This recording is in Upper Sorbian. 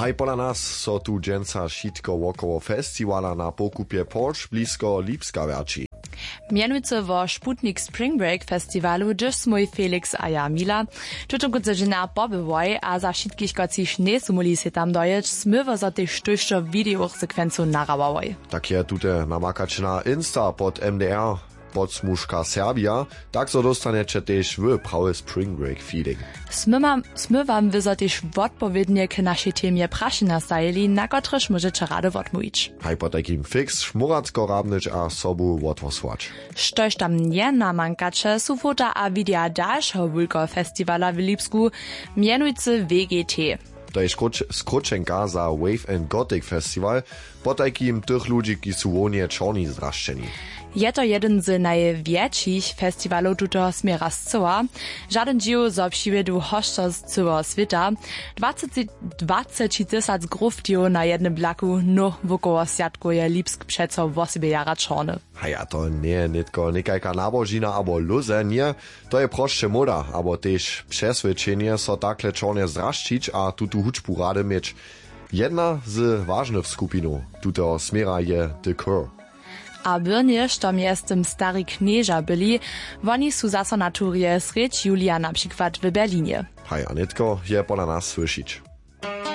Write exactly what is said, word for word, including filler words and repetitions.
Haj pola nas so tu dźensa wšitko wokoło festiwala na pokupje porch blisko lipska wjerći. Mjenujcy wo sputnik spring break festiwalu hdyž smój felix a ja mila tutonkónce dźenja pobyłoj a za wšitkich kotřiž njejsu móhli sej tam dojěć smyło zo tež tójšto widejowych sekwencow nahrałałoj. Tak je tute namakać na insta pod mdr podsmužka serbia. Tak zo dóstanjeće tež wy prawy spring break feeling. Smyłam wy zo tež wotpowědnje k našej temje prašenja stajili na kotrež móžeće rady wotmołwić. Haj potajkim fiks šmóratko rabnyć a sobu wothłosłać. Štož tam njenamankaće su fota a wideja dalšeho wulkeho festiwala w lipsku, mjenujcy w g t. To je skrótšenka za wave and gothic festiwal. Potajkim tych ludźi kiž su wohnje čorni zdrašćeni. Je to jedyn z najwjetšich festiwalow tutoho směra scyła. Žadyn dźiw zo přiwjedu hosćo z cyłeho swěta. Dwacećitysac gruftijow na jednym blaku nó wokoło swjatkow je lipsk přeco wosebje jara čorny. Haja to njeje nětko někajka nabožina abo lóze ně. To je prosće móda abo tež přeswědčenje so takle čornje zdrašćić a tutu hudźbu rady měć. Jedna z wažnych skupinow tuteho směra je the cure. A byrnje što mjeztym stari knježa byli. Woni su zaso na turje srjedź julija na přikład w berlinje. Haja nětko je pola nas słyšić.